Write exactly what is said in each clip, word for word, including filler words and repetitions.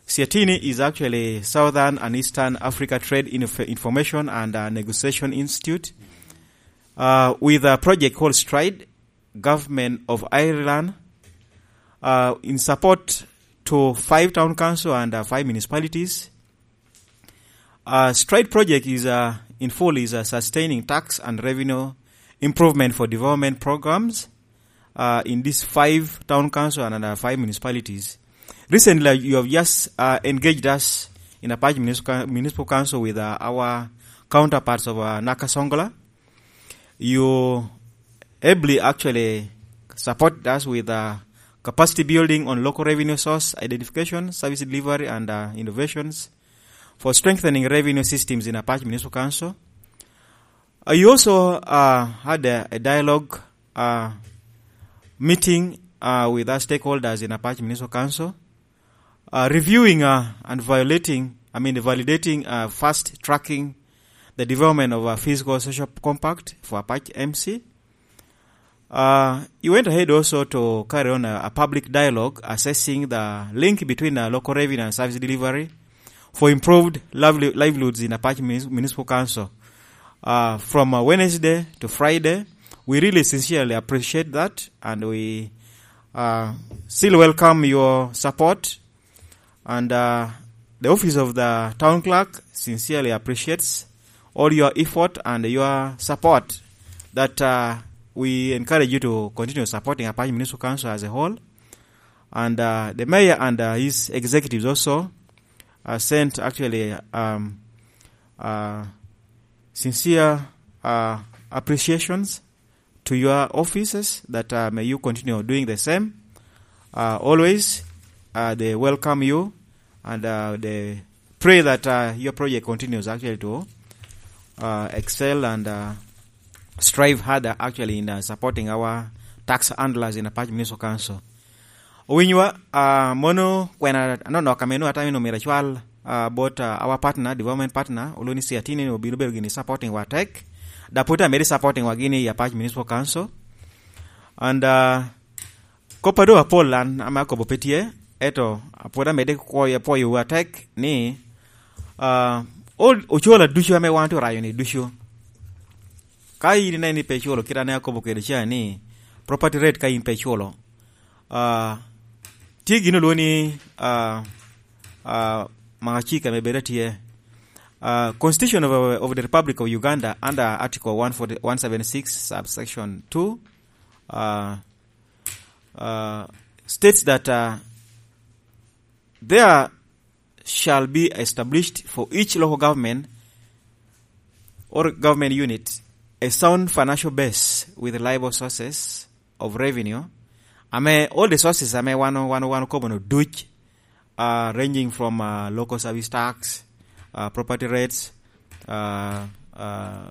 Siatini is actually Southern and Eastern Africa Trade Inf-, Information and, uh, Negotiation Institute, uh, with a project called Stride, Government of Ireland, uh, in support to five town council and, uh, five municipalities. Uh, Stride project is, uh, in full is, uh, sustaining tax and revenue improvement for development programs, uh, in these five town council and, uh, five municipalities. Recently, you have just, uh, engaged us in Apac Municipal, Municipal Council with, uh, our counterparts of, uh, Nakasongola. You ably actually support us with, uh, capacity building on local revenue source identification, service delivery, and, uh, innovations for strengthening revenue systems in Apac Municipal Council. Uh, you also, uh, had a, a dialogue, uh, meeting, uh, with our stakeholders in Apac Municipal Council, uh, reviewing, uh, and violating, I mean, validating, uh, fast tracking the development of a physical social compact for Apac M C. Uh, you went ahead also to carry on a, a public dialogue assessing the link between, uh, local revenue and service delivery for improved lively-, livelihoods in Apac Munis-, Municipal Council. Uh, from, uh, Wednesday to Friday, we really sincerely appreciate that, and we, uh, still welcome your support. And, uh, the office of the town clerk sincerely appreciates all your effort and your support that, uh, we encourage you to continue supporting Apac Municipal Council as a whole. And, uh, the mayor and, uh, his executives also, uh, sent actually, um, uh, sincere, uh, appreciations to your offices that, uh, may you continue doing the same. Uh, always, uh, they welcome you and, uh, they pray that, uh, your project continues actually to, uh, excel and, uh, strive harder actually in, uh, supporting our tax handlers in Apac Municipal Council. Owinyowa, ah, mono kwena anonok ame nwoŋo atamo ni omyero acwal, ah, bot, ah, our partner, development partner, olwoŋo ni Siatini ni obino bedo gini supporting wa tek, dok pwod amedde supporting wa gini i Apac Municipal Council. And, ah, kop a doŋ apol an ame akobo pe tye, eto pwod amedde kwoyo, pwoyo wa tek ni, ah, ol-, ocola ducu ame wan tye orayo ni ducu. Ka in ineno ni pe iculo, kit ane akobo kede ca ni, property rate ka in pe iculo, ah, tye gin olwoŋo ni, ah, ah, magacik ame bedo atye. Ah, Constitution of, of the Republic of Uganda under Article one forty, one seventy-six, subsection two, ah, ah, states that, ah, there shall be established for each local government or government unit a sound financial base with reliable sources of revenue. Ame all the sources ame wan, wan, wan okobo no duc, uh, ranging from, uh, local service tax, uh, property rates, uh, uh,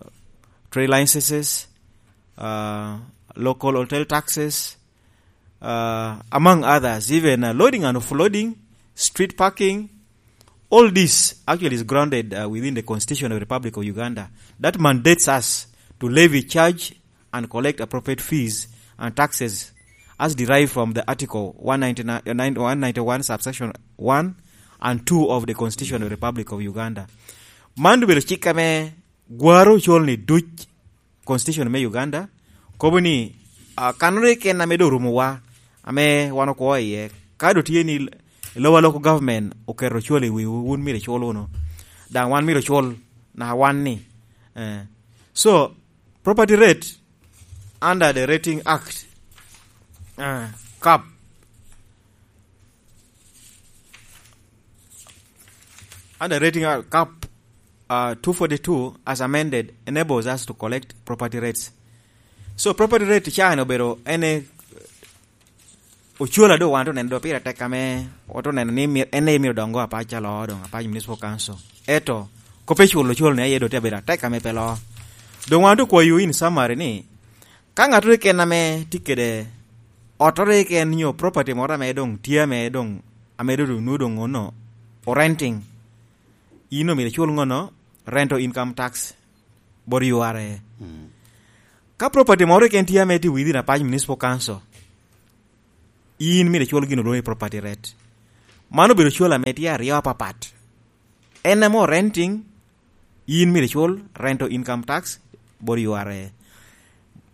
trade licenses, uh, local hotel taxes, uh, among others, even, uh, loading and offloading, street parking, all this actually is grounded, uh, within the Constitution of the Republic of Uganda that mandates us to levy, charge, and collect appropriate fees and taxes as derived from the Article one ninety-nine, uh, nine, one ninety-one, subsection one and two of the Constitution of the Republic of Uganda. Man obedo cik ame gwaro ocol ni duc Constitution me Uganda, kobo ni, ah, kanere keken ame doŋ orumowa, ame wan okwo iye. Ka doŋ tye ni lowa local government oketo ocol i wiwu, wun myero icul wunu. Daŋ wan myero ocul naka wan ni. Eh. So, property rate under the Rating Act, eh, cap, under Rating Act, cap, uh, two forty-two as amended enables us to collect property rates. So property rate can obedo ene ocola do wan to neno do pira tek ame wato neno ni mi-, ene imiro dongo apac alo dong apac municipal council. Eto kope chulo col ne aye do te bedo tek ame pe lo. Dong wan to kwayo in summary ni ka ŋato keken ame tye kede otore keken nyo property moro ame dong tye ame dong, ame dong, dong, dong ono, o renting, in omyero icul ŋono? Rental income tax bot U R A. Mm. Ka property moro keken tye ame tye within Apac Municipal Council, in myero icul gin olwoŋo ni property rate. Man obedo cwal ame tye aryo apapat. En ame renting, in myero icul rent to income tax bot U R A.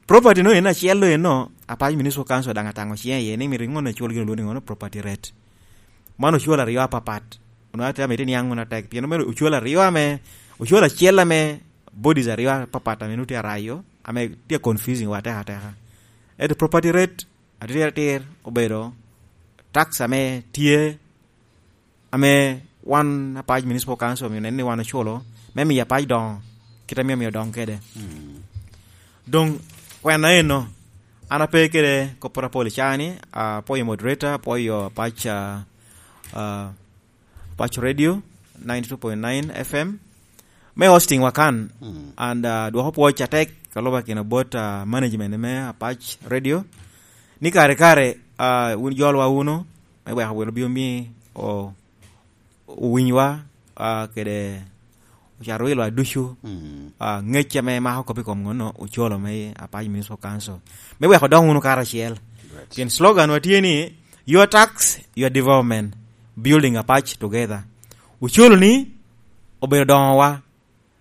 Property no en acel lo eno, Apac Municipal Council daŋ ataŋo ciŋe iye ni myero iŋon icul gin olwongo ni ŋono property rate. Man ocwal aryo apapat. Onwongo atye amito iniaŋ wunu atek, pien omero ocwal aryo ame, ocwal acel ame bodies aryo apapat ame nwoŋo tye arayo, ame tye confusing wa atek ateka. Ento property rate atir atir obedo tax ame tye, ame wan Apac Municipal Council omio nen ni wan oculo, me miyo Apac doŋo, kit ame omio doŋ kede. Mm. Doŋ, kwena eno, an ape kede kopporo apol i caa ni, apwoyo moderator, apwoyo Apac, ah, ah, Apac Radio, ninety-two point nine F M, me hosting wa kan, mm, and, ah, dwoko pwoc atek, ka lube akina bot, ah, management me Apac Radio, ni kare kare, ah, wun jolwa wunu, me weko welo obin omi o-, owinywa, ah, kede ocato wilwa ducu, mm, ah, ngec ame mako kop i kom ŋonno, ocolo me Apac Municipal Council. Me weko dong wunu karacel. Right. Pien slogan wa tye ni, "Your tax, your development, building Apac together." Ocolo ni obedo doŋowa,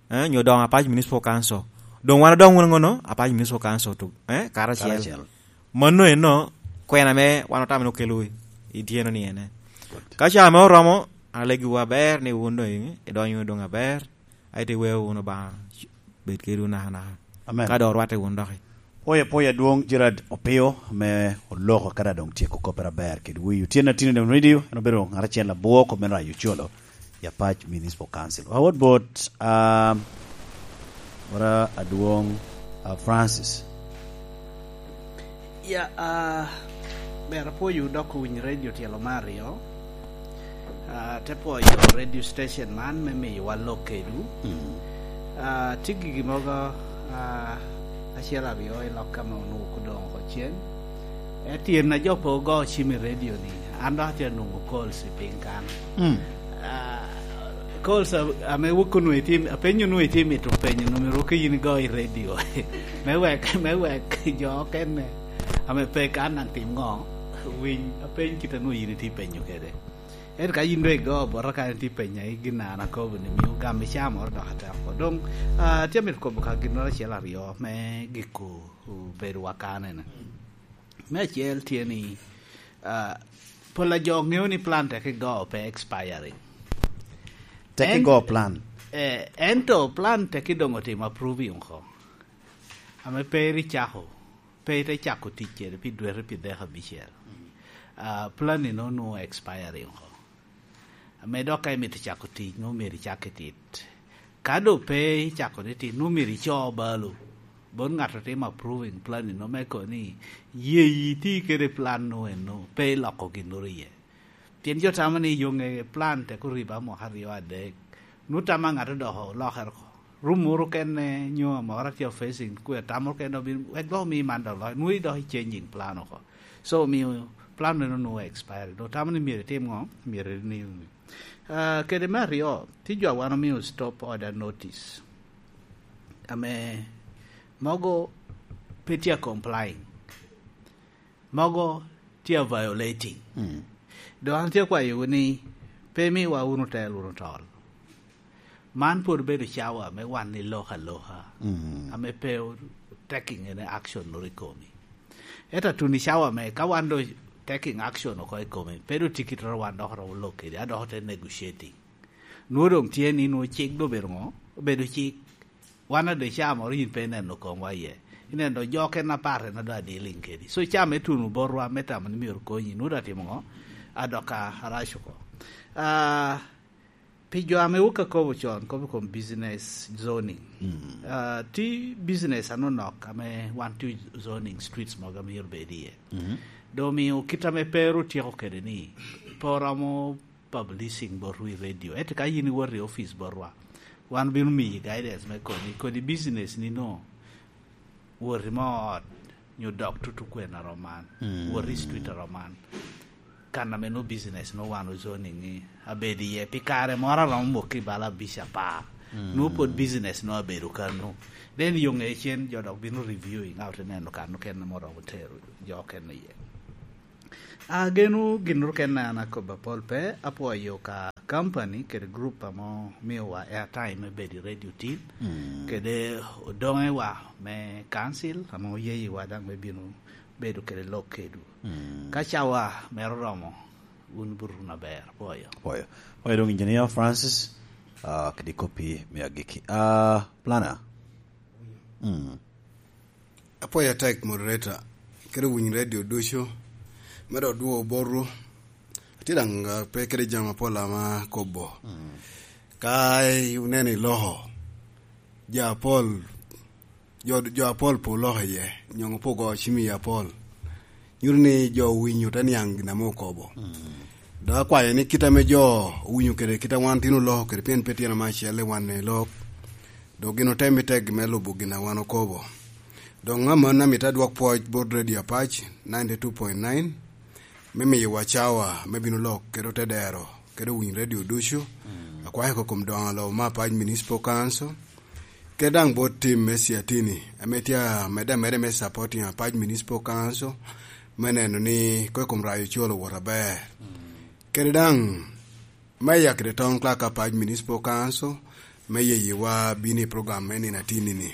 eh, nyo doŋo Apac Municipal Council. Doŋ wan odoŋ wunu ŋono, Apac Municipal Council to, eh, karacel. Karacel. Mano eno, kwena ame wan otamo ni okelo i, i tyeno ni ene. Good. Ka ca ame oromo, an alegi wu aber ni wun doŋ i-, idonyo wunu doŋ aber, aye te weo wunu Obaŋa bed kedwu nakanaka. Amen. Ka doŋ orwatte wunu doki. Pwoyo, pwoyo adwoŋ Gerard Opio, me oloko ka doŋ tyeko koppere aber kede wi. Otyeno Atino Dem Radio, en obedo ŋat acel abwo kop me rayo ocolo i Apac Municipal Council. Awot bot, um, wora adwoŋ, uh, Francis. Ya, ah, ber apwoyo dok owiny radio tyelo me aryo. Ah, te pwoyo radio station man me miyowa lok kedwu. Mm. Ah, tye gigi mogo, ah, acel aryo i lok ame onwoŋo odoŋo oko cen. Etyen a jo pe ogo cim i radio ni, an dok atye anwoŋo calls i piny kan. Mm. Ah, calls a-, ame wok onwoŋo itye, apenyo onwoŋo itye mito penyo, onwoŋo myero wok in igo i radio. Me wek, me wek jo okene ame pe kan daŋ tim ŋo, winy apeny kit a nwoŋo in itye penyo kede. Ento ka yin doŋ igo bota kan itye penya i gin a an akobo ni, mio gam i caa moro dok atek oko. Doŋ, ah, atye amito kobo ka ginnoro acel aryo me giko bedo wa kanene. Me acel tye ni, ah, pol a jo ŋeo ni plan tek igo pe expiring. Tek En-, igo plan. Eh, ento plan tek idoŋ otimo approving oko. Ame pe iri cako, pe ite cako tic kede pi dwete pi dek abicel. Ah, plan-ni nongo nwoŋo expiring oko. Ame dok ka imito cako tic, nwoŋo myero icak i tit. Ka doŋ pe icako ni tit, nwoŋo myero ico balo bot ŋat a timo approving plan-ni, nwoŋo me kono ni yeyi iti kede plan-nu eno, pe iloko ginnoro iye. Pien jo tamo ni yoŋe plan tek oriba mwaka aryo adek. Nwoŋo tamo ŋat odoko olokere oko. Rum moro kene nyo amora tye facing kwe, tamo kene obin, wek dok omi man dok loc. Nwoŋo idok i changing plan oko. So, omio plan meno nwoŋo expire. Dok tamo ni myero itim ŋo? Myero renew ni. Ah, kede me aryo, tye jo a wan omio stop order notice. Ame mogo pe tye a complying. Mogo tye a violating. Mm. Dok an tye akwayowu ni pe imiwa wunu tel wunu tol. Man pwod obedo cawa me wan ni lok aloka, mm, ame pe o-, taking any action noro i komi. Ento atuni cawa me ka wan do taking action oko i komi, pe do tikitoro wan dok romo lok kedi, a dok ote negotiating. Nwoŋo doŋ tye ni nwoŋo cik do obedo ŋo? Obedo cik. Wan ade ca moro yin pe ineno komwa iye. Ineno jo ken apar en ado adiliŋ kedi. So ca me tuno botwa me tamo ni myero konyi, nwoŋo atimo ŋo? Adok a arac oko. Ah, pi jo ame wok akobo con, kobo kom business zoning. Mm. Ah, ti business anonok ame wan ti zoning streets mogo myero bed iye. Mm. Do miyo kit ame pe ru tyeko kede ni, pe oromo publishing botwu i radio. Ento ka yin iwoto i office botwa, wan bino miyi guidance me koni, kodi business ni no, woti mo ot, nyo dok tutu kwen aroman, mm, woti i street aroman. Kan ame no business no wan ozoning ni abedo iye pi kare moro aromo mok i bala abic apar. Mm. No pwod business no abedo kano. Then yo nge cen jo dok bino reviewing out neno kano kene moromo tero jo kene iye. Ageno gin rukene an akobo apol pe, apwoyo ka company kede group ame omiowa airtime me bedo i radio tin, mm, kede odoŋewa me council ame oyeyiwa daŋ me bino bedo kede lok kedwu. Mm. Ka cawa mere oromo, wun buto wunu aber. Apwoyo. Apwoyo. Apwoyo doŋ Engineer Francis, ah, kede koppi me agikki. Ah, Planner. Mm. Apwoyo atek, moderator, kede owiny radio ducu, me dok dwogo botwu. Atye daŋ, ah, pe kede jami apol ame akobo. Mm. Ka i-, oneno i loko, jo apol, jo, jo apol pe oloko iye, nyoŋ pe ogo cim iye apol. Nyuto ni jo owinyo te niaŋ gin ame okobo. Mm. Dok akwayo ni kit ame jo owinyo kede kit a wan tin oloko kede, pien pe tyen ame acel i wan i lok, dok gin otemo i tegi me lubo gin a wan okobo. Dok amanni amito adwok pwoc bot Radio Apac ninety two point nine, me miyowa cawa me bino lok kede otedero kede owiny radio ducu. Mm. Akwayo oko kom doŋo lobo me Apac Municipal Council, kede daŋ bot tim me Siatini, ame tye amedde amedde me supporting Apac Municipal Council, me neno ni kop i kom rayo col owot aber. Mm. Kede daŋ Meya kede Town Clerk Apac Municipal Council, me yeyiwa bino i program me nino atinni-ni.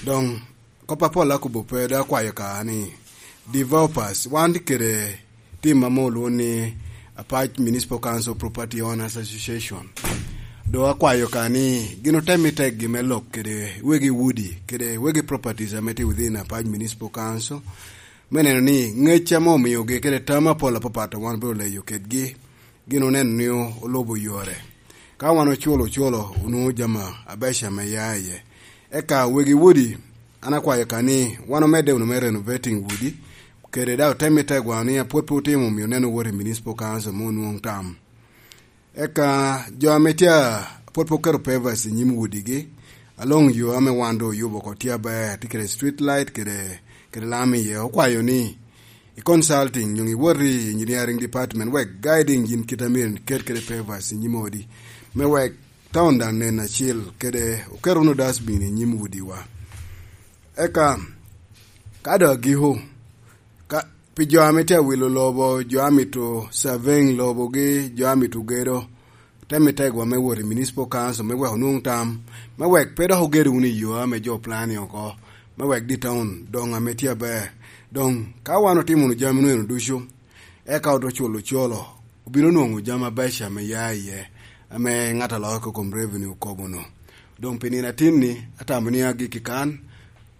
Doŋ, kop apol akobo pe, dok akwayo ka ni, developers, wan tye kede tim ame olwoŋo ni Apac Municipal Council Property Owners Association. Dok akwayo ka ni gin otem i teggi me lok kede wegi udi, kede wegi properties ame tye within Apac Municipal Council, me neno ni ŋec ame omiogi kede tam apol apapat a wan obedo leyo kedgi, gin oneno ni o-, olubo yore. Ka wan oculo oculo, onwoŋo jami abeco ame ya iye. Eka wegi udi, an akwayo ka ni wan omedde wunu me renovating udi, kede daŋ otem i tegwa ni apwod pe otimo, omio neno wot i Municipal Council me onwoŋ tam. Eka jo ame tye a pwod pe oketo pavers i nyim udigi, aloŋ yo ame wan doŋ oyubo oko tye aber, tye kede street light kede, kede lam iye. Okwayo ni i consulting, nyoŋ iwot i engineering department, wek guiding yin kit a myero iket kede pavers i nyim odi, me wek town daŋ nen acil, kede oket wunu dustbin i nyim udiwa. Eka, ka doŋ agiko, ka, pi jo ame tye awilo lobo, jo amito surveying lobogi, jo amito gedo, te mi tegwa me wot i Municipal Council me wek onwoŋ tam, me wek pe dok ogedo wunu i yo ame jo planning oko, me wek di town doŋ ame tye aber. Doŋ, ka wan otimo wunu jami wunu eno ducu, eka ote culo ocolo, obino nwoŋo jami abeco ame ya iye, ame ŋat a loko kom revenue okobo-nu. Doŋ pi nino atinni, atamo ni agikki kan,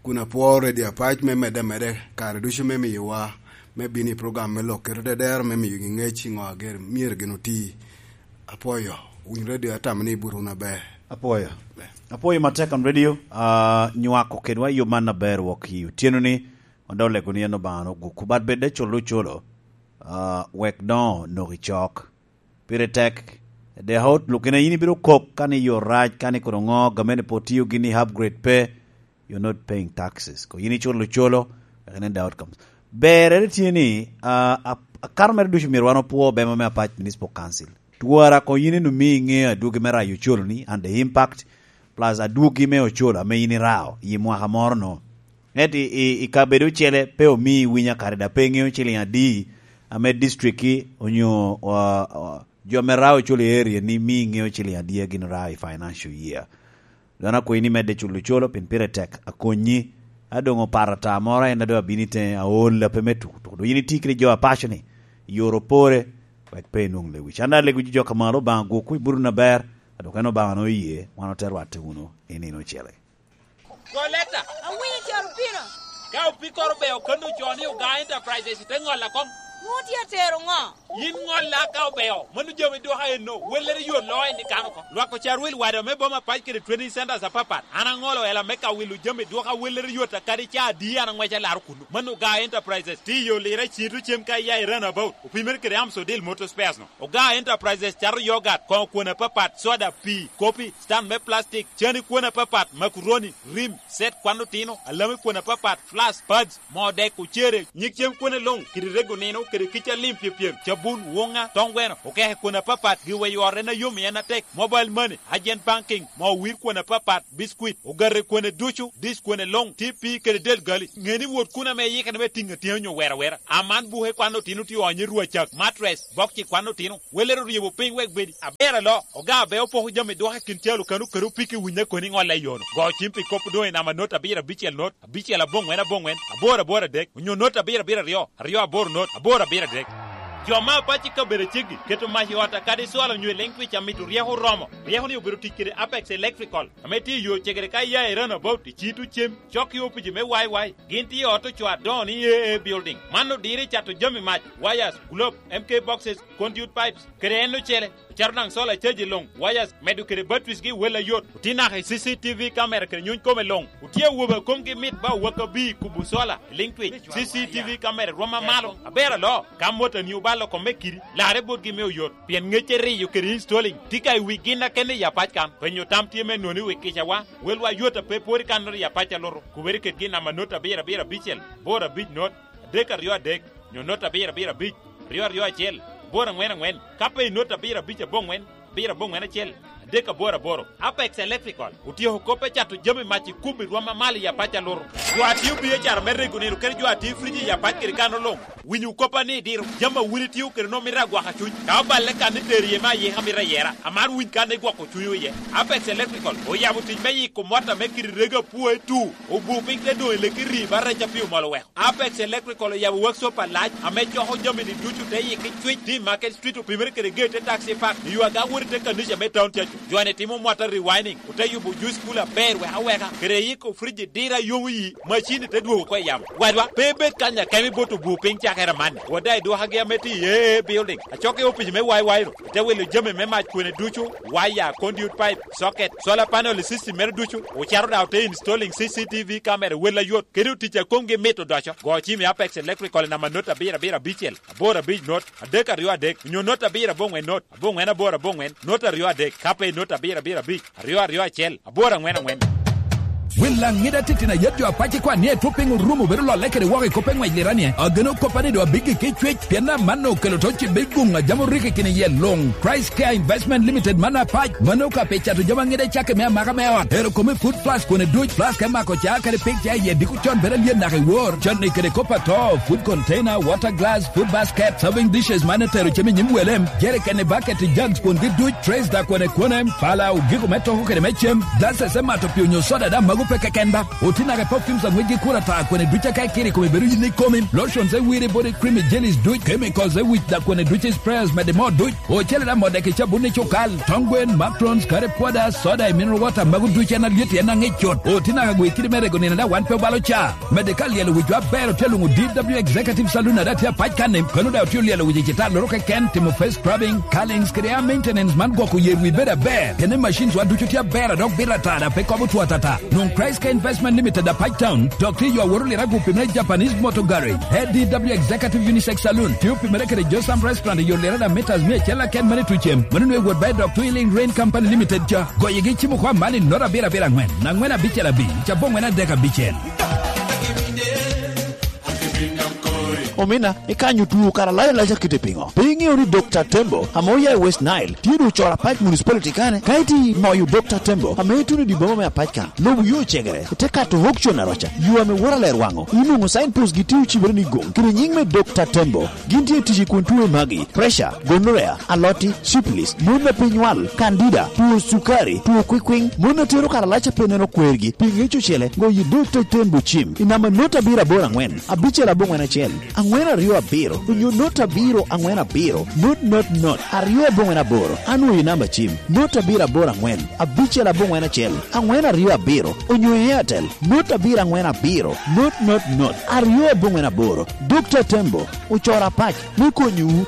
kun apwoo Radio Apac me medde ameda kare ducu me miyowa me bino i program me lok kede otedero me miyogi ŋec i ŋo a ger-, myero gin oti. Apwoyo, winy radio atamo ni ibuto wunu aber. Apwoyo. Ber. Apwoyo Matekan Radio, ah, nywako kedwa i yo man aber wok i otyeno-ni, wan dok olego ni en Obaŋa ogukku, bat bedde culo ocolo, ah, wek doŋ onok i cok. Pire tek, the whole, lukene yin ibino kok ka ni yo rac, ka ni kono ŋo, gamente pe otiyo gini upgrade pe, you're not paying taxes. Ko yin iculo ocolo, wek inen the outcomes. Berre tye ni, ah, ap-, akato mere ducu myero wan opwo bema me Apac Municipal Council. Twara ko yin enu mi iŋeo adwogi me rayo ocolo-ni and the impact, plus adwogi me ocolo ame yin irao i mwaka moro-nu. Ento i, i, i kabedo ocele pe omii winyo akare, dok pe iŋeo ciliŋ adi ame district-ki onyo, ah, ah, jo ame rao ocolo i area-ni mi iŋeo ciliŋ adi a gin orao i financial year. Doŋ akwayi ni medde culo ocolo, pien pire tek, akonnyi. A doŋ opato ata moro, en a doŋ abino i teŋe, aol lape me tuko tuko. Doŋ yin iti kede jo apaco-ni, i oro pore, wek pe inwoŋ lewic. An daŋ alego jo ka malo, Obaŋa gwokwu i buto na ber, a dok en Obaŋa na oye, wan ote rwatte wunu i nino ocele. Koleta! Awinyo caro pino. Ka opikoro beo kano co ni Oga Enterprises, ite ŋolla koŋ. Ŋo tye atero ŋo? Yin ŋolla ka obeo, mano jami dwoka enno, wellere yot loo en i kano oko. Lwak ocar wil wada me boma pac kede training centers apapat. An aŋolo ela me ka wilo jami dwoka wellere yot a kadi ca adi an aŋwec alaro kuno. Mano Oga Enterprises, tiyo lira cito cem ka iya i runabout, opimere kede Amsodil Motor Spares no. Oga Enterprises cato yogurt, koŋo kwon apapat, soda, pii, kopi, stand me plastic, cani kwon apapat, makuroni, rim, set kwan otino, alami kwon apapat, flask, pads, moo dek, ocere, nyig cem kwone luŋ, kede rego nino, kede kica lim pyepyem, ca bun, woŋa, toŋ gweno, okeke kwon apapat, giweyo ot en ayom i en atek, mobile money, agent banking, moo wir kwon apapat, biscuit, ogate kwone ducu, dish kwone luŋ, T V kede del gali. Ŋe ni wot kun ame iyikere me tiŋ atyeni onyo wera wera. Aman buke kwan otino tye onyo i rwacak, mattress, bokci kwan otino. Welere oryebo piny wek bedi aber alo. Oga abe opoko jami dwoko i kin calo kano kede opiko i winye koni ŋolle i yono. Go cim pi kop doŋ i namba not abiro abicel not, abicel aboŋwen aboŋwen, aboro aboro adek, onyo not abiro abiro aryo, aryo aboro not, aboro abiro adek. Jo me apac i kabedo aceggi keto mac i ot akadi cwalo onyo i liŋ twic amito ryeko oromo. Ryeko ni obedo tic kede Apex Electrical, ame tye i yo cegere ka iya i Roundabout, i Cito Cem, cok i opici me Y Y. Gin tye i ot ocoo adoŋo ni A A Building. Man odiro i cato jami mac, wires, globe, M K boxes, conduit pipes, kede en ocele. Ocato daŋ solar caji luŋ, wires, medo kede batteries gi wel ayot. Otye naka i C C T V camera kede nyuny kome luŋ. Otye awobe a komgi mit ba owak abir kubo solar, i liŋ twic. C C T V camera rwom amalo, aber alo. Ka motani obalo kome kidi, larre botgi me oyot. Pien ŋecce riyo kede installing tye ka i wi gin akene i apac kan. Penyo tam tye me noni wi kicawa. Welwa yot a pe pwod i kannoro i apac alutu. Kubere kedgi i namba not abiro abiro abicel, boro abic not, adek aryo adek, nyo not abiro abiro abic, aryo aryo acel, boro aŋwen aŋwen, ka pe i not abiro abic aboŋwen, abiro aboŋwen acel, adek aboro aboro. Apex Electrical otyeko kop me cato jami mac i kum i rwom amalo i apac alutu. Jo a tio biacara me rego nino kede jo a tio frij i apac kede kano luŋ. Winyo koppa ni diro jami a wun itio kede nwoŋo mito agwaka cuny. Ka oballe kan ni tero iye me ayika mito ayera, amaro winy kan igwoko cunywu iye. Apex Electrical oyabo tic me yiko mot ame kite rego apwoe tu, obu piny te doŋ i leki ri ba rec a pi omol oweko. Apex Electrical oyabo workshop alac ame coko jami-ni ducu te yiki cwic, tye i Market Street opimere kede gate te taxi park, i yo aga wot i te kanica me town cacu. Jo-ni timo mota rewinding, ote yubo juice cooler aber wek aweka, kede yiko friji diro ayomo yi, macin-ni te dwogo oko i yamo. Wadwa, pe ibed kany akemo ibot obur piny cakere amanni. Wada i dwokagi ame tye i A A Building, acok i opic me Y Y-nu, ote wilo jami me mac kwene ducu, waya, conduit pipe, socket, solar panel i system mere ducu, ocito daŋ ote installing C C T V camera i wel ayot, kede otic a komgi mit odoco. Go cim i Apex Electrical i namba not abiro abiro abicel, aboro abic not, adek aryo adek, onyo not abiro aboŋwen not, aboŋwen aboro aboŋwen, not aryo adek, ka pe not abiro abiro abic, aryo aryo acel, aboro aŋwen aŋwen. Wel aŋida titino ayet jo apac ikwan ni etwo piny orumo bedo lolle kede woko i kop eŋwec liranie. Ageno koppa ni doŋ abiggi ki cwec, pien amanno okelo to cibbe guŋ a jam orikki kine iye luŋ. Christ Care Investment Limited man apac, mano ka pe cato jami aŋida cakke me amaka me ot. Ero kome food plus kwene duc, plus ka imako ca kede pik ca iye diko con bedo alyen naka i wor. Con ni kede kop ato, food container, water glass, food basket, serving dishes man etero cem i nyim welem, jerikeni, baketi, jugs kwongi duc, trays da kwene kwone, pala, ogiko me toko kede me cem, glasses me mato pi onyo soda da mago pe keken ba. Oti naka perfumes aŋwec gi kura ta kwene duc aka ikiri kome bedo yin ikomi, lotions e wiri body creamy jellies duc, chemicals e wic da kwene duc sprayers mede mo duc, ocele da mo dek i cabun i cukal, tong gwen, macrons, curry powder, soda i mineral water mago duc en alyet en aŋic cut. Oti naka gwi kidi me rego nino da wan pe obalo ca. Mede ka lyelo wicwa aber otye luŋo D W Executive Saloon ada tye apac kanni, kono daŋ otye olyelo wic i cita loro keken, timo face scrubbing, curlings, kede hair maintenance man gwoko yer wi bedo aber. Kene machines wa ducu tye aber a dok bito ata da pe kobo two atata. Nwoŋ Christ Care Investment Limited apac town, dok tye yo aworo lirago pi me Japanese Motor Garage. A D W Executive Unisex Saloon, tye opimere kede Josam Restaurant i yo lirada meters mia acel aken mane tucem. Mano nwe wot ba i dok Twilling Rain Company Limited ca. Goyegi cimo kwa man i not abiro abiro aŋwen, aŋwen abicel abic, aboŋwen adek abicel. Omina, ikanyo tuo kara lac alac akite piŋo? Pe iŋeo ni Dokta Tembo, ame oya i West Nile, tye doŋ ocoro apac municipality kane? Ka iti moyo Dokta Tembo, ame ituno i dye boma me apac kan, lobo yo ocegere, ite kato auction aroca, yo ame woro aler waŋo, inwoŋo signpost gi tye ocibere ni goŋ, kede nyiŋ me Dokta Tembo. Gin tye tic i kun tuo magi, pressure, gonorrhea, aloti, syphilis, mon a pe nywal, candida, tuo cukari, tuo kwikwiŋ, mon a tero karalac a pe neno kwergi, pi ŋec ocele, goyo dog te tembo cim, i namba not abiro aboro aŋwen, abicel aboŋwen acel, aŋwen aryo abiro, onyo not abiro aŋwen abiro, not not not, aryo aboŋwen aboro, anwoyo i namba cim, not abiro aboro aŋwen, abicel aboŋwen acel, aŋwen aryo abiro, onyo i Airtel, not abiro aŋwen abiro, not not not, aryo aboŋwen aboro, Dokta Tembo, ocoro apac me konyowu.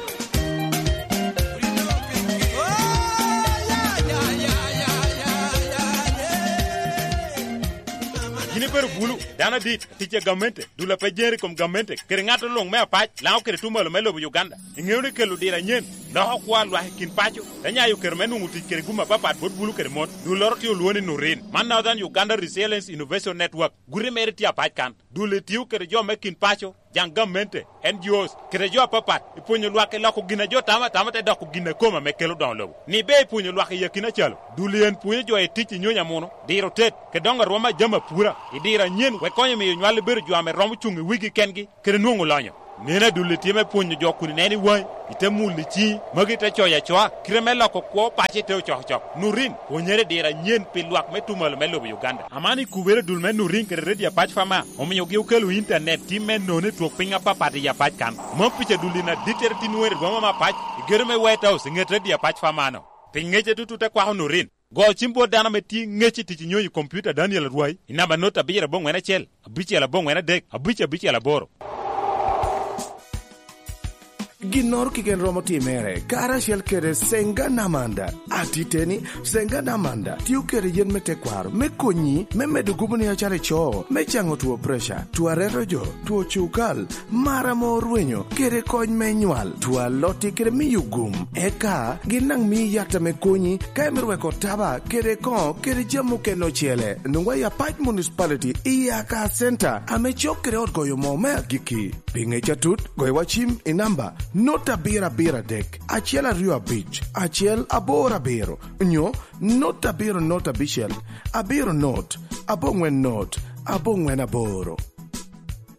Yin ibedo bulu, dano adit, tic a gamente, dul a pe jere i kom gamente, kede ŋat oluŋ me apac, Lango kede tuŋ malo me lobo Uganda. Iŋeo ni kelo diro anyen Loko kwo a lwak i kin paco te nyayo kero me nwoŋo tic kede gum apapat bot bulu kede mon. Dulloro tye olwoŋo ni Nurin, man Northern Uganda Resilience Innovation Network. Guti mere tye apac kan. Dul-li tio kede jo me kin paco, jaŋ gamente, N G Os, kede jo apapat, i pwonyo lwak i loko gin a jo tamo atama te doko gin a kome ame kelo doŋo lobo. Ni ber i pwonyo lwak i akina calo, dul-li en pwonyo jo i tic i nyonyo amuno, diro tet, kede doŋo arwom a jami apura, i diro anyen, wek konyo miyo nywal bedo jo ame romo cuŋ i wigi kengi, kede nwoŋo lonyo. Neno adul-li tye me pwonyo jo kun ineno i waŋi, ite mulo i ciŋi, magi te coyo acoa, kite me loko kwo paco i te ocokocok. Nurin, pwonyere i diro anyen pi lwak me tuŋ malo me lobo Uganda. Aman i kubere dul me Nurin kede Radio Apac Fama, omiogi okelo intanet tim me nono i twok piny apapat i Apac kan. Mom pica dul-li na dittere tye nwoŋere i boma me Apac, i gedo me White House, i ŋet Radio Apac Fama-no. Pi ŋecce tutu te kwako Nurin. Go cim bot dano ame tye ŋec i tic i nyonyo i kompiuta Daniel Arwai i namba not abiro aboŋwen acel, abicel aboŋwen adek, abic abicel aboro. Ginnoro keken romo timere karacel kede Senga Namanda. Atiteni, Senga Namanda tio kede yen me tekwaro me konyi me medo gubo ni acalo ico, me caŋo two preca, two areto jo, two cukal, mar ame orwenyo, kede kony me nywal, two alotti kede miyo gum. Eka gin daŋ mii yat ame konyi ka imito weko taba kede koŋo kede jami okene ocele. Nwoŋwa i Apac Municipality i Aka Center ame cok kede ot goyo moo me agikki. Pi ŋec atut, goyo wa cim i namba not abiro abiro adek, acel aryo abic, acel aboro abiro, nyo not abiro not abicel, abiro not, aboŋwen not, aboŋwen aboro.